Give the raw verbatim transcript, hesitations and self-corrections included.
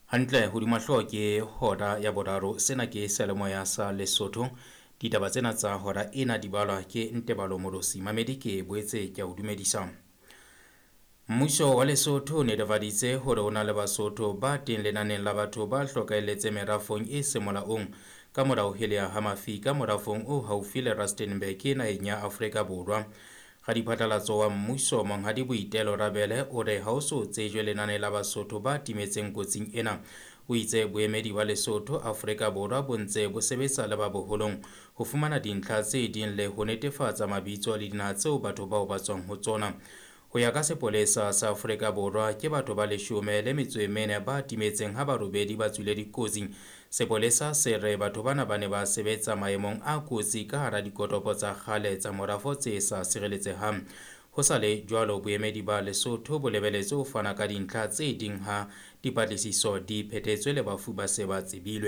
Hantle hodima hlooho ke hora ya boraro. Sena ke seyalemoya sa Lesotho. Ditaba tsena tsa hora ena di balwa ke Ntebalo Molosi. Mamedi ke boetse ke a o dumedisa. Mmuso wa Lesotho o netefaditse hore ho na le Basotho ba teng lenaneng la batho ba hlokahelletse merafong e seng molaong ka mora ho heleha ha mafika morafong o haufi le Rustenburg naheng ya Afrika Borwa. Radiphatlalatso wa mmuso Monghadi Boitelo Rabele o re ha ho so tsejwe lenane la Basotho ba timetseng kotsing ena. O itse boemedi ba Lesotho Afrika Borwa bo ntse bo sebetsa le ba boholong ho fumana dintlha tse ding le ho netefatsa mabitso le dinaha tseo batho bao ba tswang ho tsona. Ho ya ka sepolesa sa Afrika Borwa ke batho ba leshome le metso e mene ba timetseng ha ba robedi ba tswile dikotsing. Sepolesa se re batho bana ba ne ba sebetsa maemong a kotsi ka hara dikotopo tsa kgale tsa morafo tse sa sireletsehang. Ho sa le jwalo, boemedi ba Lesotho bo lebeletse ho fana ka dintlha tse ding ha dipatlisiso di phethetswe le bafu ba se ba tsebilwe.